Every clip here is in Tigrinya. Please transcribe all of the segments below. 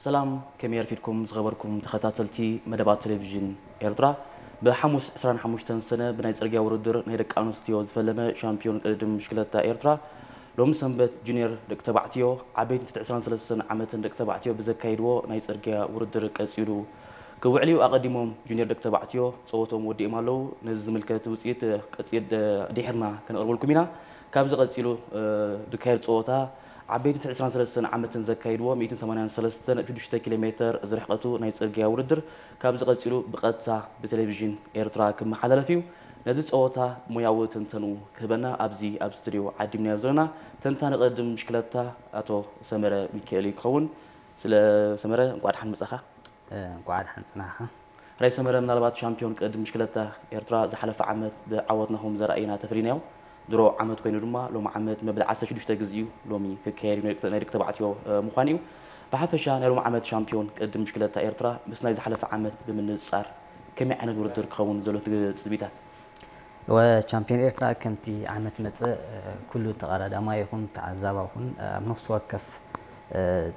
ሰላም፣ ከመይ ኣርፊድኩም ዝኸበርኩም ተኸታተልቲ መደባት ቴሌቪዥን ኤርትራ? ብሓሙስ ዕስራን ሓሙሽተን ሰነ ብናይ ጽርግያ ውድድር ናይ ደቂ ኣንስትዮ ዝፈለመ ሻምፒዮን ቅድድም ብሽክለታ ኤርትራ፣ ሎሚ ሰንበት ጁኒየር ደቂ ተባዕትዮ፣ ዓበይቲ ትሕቲ ዕስራን ሰለስተን ዓመትን ደቂ ተባዕትዮ ብዘካይድዎ ናይ ጽርግያ ውድድር ቀጺሉ ክውዕል እዩ። ኣቐዲሞም ጁኒየር ደቂ ተባዕትዮ ጸወቶም ወዲኦም ኣለዉ። ነዚ ዝምልከት ውጽኢት ቀጺል ድሒርና ከነቕርበልኩም ኢና። ካብዚ ቀጺሉ ዝካየድ ጸወታ ዓበይቲ ትሕቲ ዕስራን ሰለስተን ዓመትን ዘካይድዎ ሚእትን ሰማንያን ሰለስተን ነጥቢ ሽዱሽተ ኪሎ ሜተር ዝርሕቀቱ ናይ ጽርግያ ውድድር ካብዚ ቀጺሉ ብቐጥታ ብቴሌቪዥን ኤርትራ ክመሓላለፍ እዩ። ነዚ ጸወታ ሞያዊ ትንተንኡ ክህበና ኣብዚ ኣብ ስቱድዮ ዓዲምናዮ ዘለና ተንታኒ ቅድድም ብሽክለታ ኣቶ ሰመረ ሚካኤል እዩ ክኸውን። ስለ ሰመረ እንቋዕ ደሓን መጻኻ። እንቋዕ ደሓን ጽናሕኻ። ራይ ሰመረ፣ ምናልባት ሻምፒዮን ቅድድም ብሽክለታ ኤርትራ ዝሓለፈ ዓመት ብዓወት ናኹም ዘርኣየና ተፈሊናዮ። ድሮ ዓመት ኮይኑ ድማ ሎሚ ዓመት መበል ዓሰርተ ሽዱሽተ ግዜ እዩ ሎሚ ክካየድ እዩ፣ ናይ ደቂ ተባዕትዮ ምዃን እዩ። ብሓፈሻ ናይ ሎሚ ዓመት ሻምፒዮን ቅድድም ብሽክለታ ኤርትራ ምስ ናይ ዝሓለፈ ዓመት ብምንጽጻር ከመይ ዓይነት ውድድር ክኸውን ዘሎ ትጽቢታት? ወ ቻምፒዮን ኤርትራ ከምቲ ዓመት መጸ ኩሉ ተቐዳዳማይ ይኹን ተዓዛባ ይኹን ኣብ ነፍሲ ወከፍ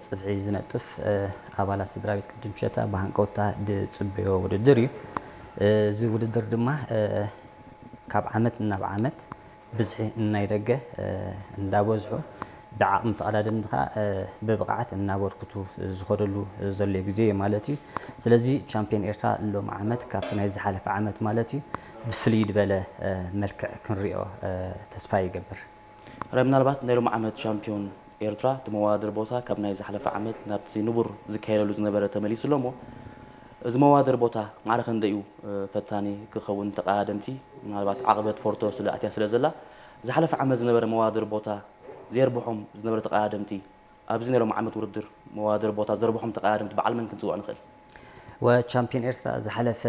ጽፍዒ ዝነጥፍ ኣባላት ስድራ ቤት ቅድድም ብሽክለታ ብሃንቀውታ ዝጽበዮ ውድድር እዩ። እዚ ውድድር ድማ ካብ ዓመት ናብ ዓመት ብዝሒ ናይ ደገ እንዳበዝሑ ብዓቕሚ ተቐዳደምቲ ከዓ ብብቕዓት እናበርክቱ ዝኸደሉ ዘሎ ግዜ እዩ ማለት እዩ። ስለዚ ቻምፒዮን ኤርትራ ሎም ዓመት ካብቲ ናይ ዝሓለፈ ዓመት ማለት እዩ ብፍልይ ዝበለ መልክዕ ክንሪኦ ተስፋ ይገብር። ራይ፣ ምናልባት ናይ ሎም ዓመት ሻምፒዮን ኤርትራ እቲ መዋድር ቦታ ካብ ናይ ዝሓለፈ ዓመት ናብቲ ንቡር ዝካየደሉ ዝነበረ ተመሊሱ ኣሎ እሞ፣ እዚ መዋድር ቦታ ማዕረ ክንደይ እዩ ፈታኒ ክኸውን? ተቐዳደምቲ ምናልባት ዓቕበት ፎርቶ ስለ ኣትያ ስለ ዘላ፣ ዝሓለፈ ዓመት ዝነበረ መዋድር ቦታ ዘየርብሖም ዝነበረ ተቐዳደምቲ ኣብዚ ናይ ሎም ዓመት ውድድር መዋድር ቦታ ዘርብሖም ተቐዳደምቲ በዓል መን ክንጽውዕ ንኽእል? ወ ቻምፒዮን ኤርትራ ዝሓለፈ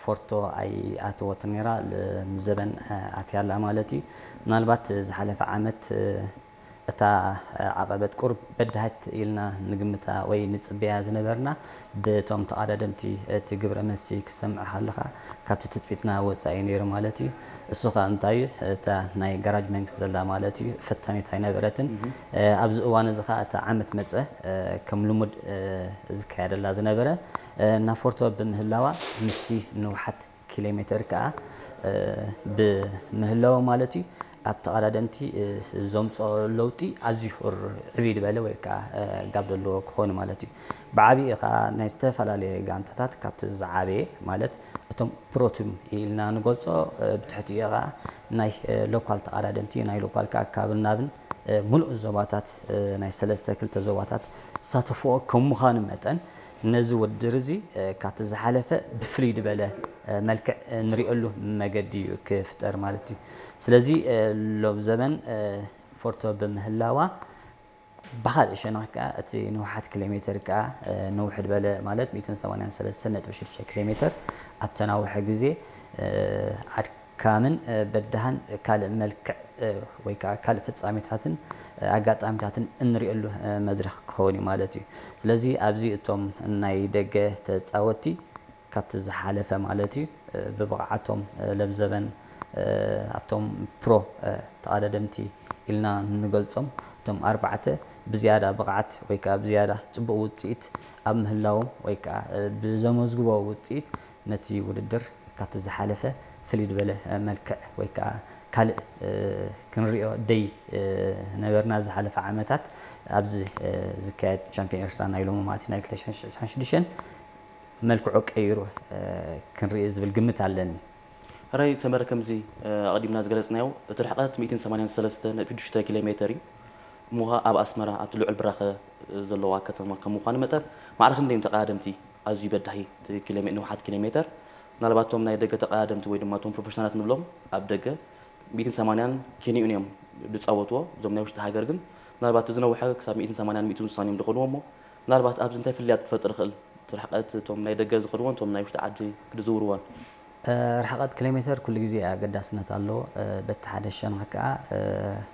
ፎርቶ ኣይኣተወትን ነይራ፣ ሎምዘበን ኣትያ ኣላ ማለት እዩ። ምናልባት ዝሓለፈ ዓመት እታ ዓቐበት ቁሩብ በዳህት ኢልና ንግምታ ወይ ንጽበያ ዝነበርና ብቶም ተቐዳደምቲ እቲ ግብረ መልሲ ክሰምዕ ከለኻ ካብቲ ትጽቢትና ወጻኢ ነይሩ ማለት እዩ። እሱ ኸኣ እንታይ እዩ? እታ ናይ ጋራጅ መንግስቲ ዘላ ማለት እዩ ፈታኒት ኣይነበረትን። ኣብዚ እዋን እዚ ኸኣ እታ ዓመት መጸ ከም ልሙድ ዝካየደላ ዝነበረ ናብ ፎርቶ ብምህላዋ ምስቲ ንውሓት ኪሎ ሜተር ከኣ ብምህላው ማለት እዩ ኣብ ተቐዳደምቲ ዘምፅኦ ለውጢ ኣዝዩ ዕብይ ዝበለ ወይ ከዓ ጋብ ዘለዎ ክኾን ማለት እዩ። ብዓብኡ ከዓ ናይ ዝተፈላለየ ጋንታታት ካብቲ ዝዓበየ ማለት እቶም ፕሮቲም ኢልና ንገልፆ ብትሕቲኡ ከዓ ናይ ሎካል ተቐዳደምቲ ናይ ሎካል ከዓ ካብን ናብን ሙሉእ ዞባታት ናይ ሰለስተ ክልተ ዞባታት ዝሳተፍኦ ከም ምዃኑ መጠን ነዚ ውድድር እዚ ካብቲ ዝሓለፈ ብፍልይ ዝበለ መልክዕ ንሪኦሉ መገዲ እዩ ክፍጠር ማለት እዩ። ስለዚ ሎም ዘበን ፎርቶ ብምህላዋ ብኻልእ ሸነኽ ከዓ እቲ ንውሓት ኪሎ ሜተር ከዓ ንውሕ ዝበለ ማለት ሚእትን ሰማንያን ሰለስተን ነጥቢ ሽዱሽተ ኪሎ ሜተር ኣብተናውሐ ግዜ ኣድካምን በዳህን ካልእ መልክዕ ወይ ከዓ ካልእ ፍጻሜታትን ኣጋጣሚታትን እንሪእሉ መድረኽ ክኸውን እዩ ማለት እዩ። ስለዚ ኣብዚ እቶም ናይ ደገ ተፃወትቲ ካብቲ ዝሓለፈ ማለት እዩ ብብቕዓቶም ለብዘበን ኣብቶም ፕሮ ተቐዳደምቲ ኢልና ንገልፆም እቶም ኣርባዕተ ብዝያዳ ብቕዓት ወይ ከዓ ብዝያዳ ፅቡቕ ውፅኢት ኣብ ምህላዎም ወይ ከዓ ብዘመዝግቦ ውፅኢት ነቲ ውድድር ካብቲ ዝሓለፈ ፍልይ ዝበለ መልክዕ ወይ ከዓ ካልእ ክንሪኦ ደይ ነበርና ዝሓለፈ ዓመታት ኣብዚ ዝካየድ ቻምፒዮን ኤርትራ ናይ ሎሚ ማለት ናይ ክልተ ሽሕን ዕስራን ሽዱሽተን መልክዑ ቀይሩ ክንርኢ ዝብል ግምት ኣለኒ። ሕራይ ሰመረ፣ ከምዚ ኣቐዲምና ዝገለጽናዮ እቲ ርሕቐት ሚእትን ሰማንያን ሰለስተን ነጥቢ ሽዱሽተ ኪሎ ሜተር እዩ። እሞ ኸኣ ኣብ ኣስመራ ኣብቲ ልዑል ብራኸ ዘለዋ ከተማ ከም ምዃኑ መጠን ማዕረ ክንደይ እዮም ተቐዳደምቲ ኣዝዩ በዳሂ እቲ ኪሎ ሜ- ንውሓት ኪሎ ሜተር? ምናልባት እቶም ናይ ደገ ተቐዳደምቲ ወይ ድማ እቶም ፕሮፌሽናላት ንብሎም ኣብ ደገ ሚእትን ሰማንያን ኪንኡን እዮም ዝጻወትዎ። እዞም ናይ ውሽጢ ሃገር ግን ምናልባት እቲ ዝነውሐ ክሳብ ሚእትን ሰማንያን ሚእትን ስሳን እዮም ዝኸድዎ እሞ ምናልባት ኣብዚ እንታይ ፍልልያት ክፈጥር ይኽእል? እቲ ርሕቀት እቶም ናይ ደገ ዝኸድዎን እቶም ናይ ውሽጢ ዓዲ ክድዝውርዎን? ርሕቀት ኪሎ ሜተር ኩሉ ግዜ ኣገዳስነት ኣለዎ። በቲ ሓደ ሸነኽ ከኣ